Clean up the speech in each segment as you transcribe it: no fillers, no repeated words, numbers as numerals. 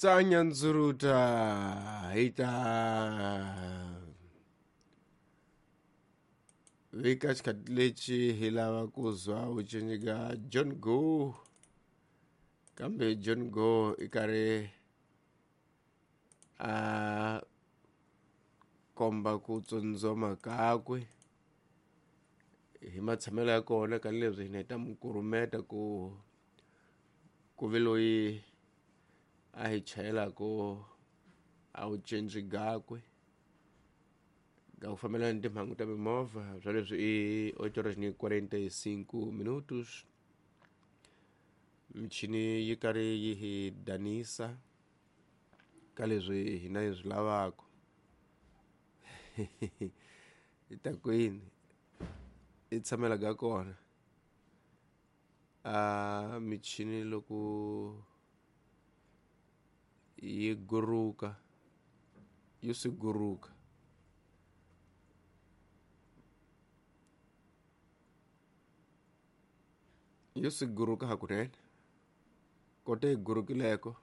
Tsanya ndzuruta hi ta vika xikhathi lexi hi lava ku zwa vucinci ka John Go, kambe John Go i karhi a komba ku tsundzuma kakwe hi matshamelo ya kona ka leswi hina hi ta mu kurumeta ku ku ve loyi a hi chayelaka a wu cinci gakwe ka ku fambelana ni timhangu ta mimovha swa leswi i 8 horas ni 45 minutos. Michini yi karhi yi hi danisa ka leswi hina hi swi lavaka. Hi ta kwini i tshamela ka kona a michini loko yi guruka yi swi guruka yi swi guruka hakunene kote yi gurukileko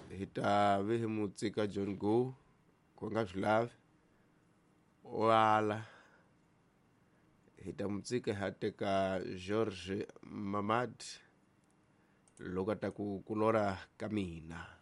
hi ta ve hi mu tsika John Go ku nga swi lavi o ala hi ta mu tsika hi ya teka George Mamad loko a ta ku ku lorha ka mina.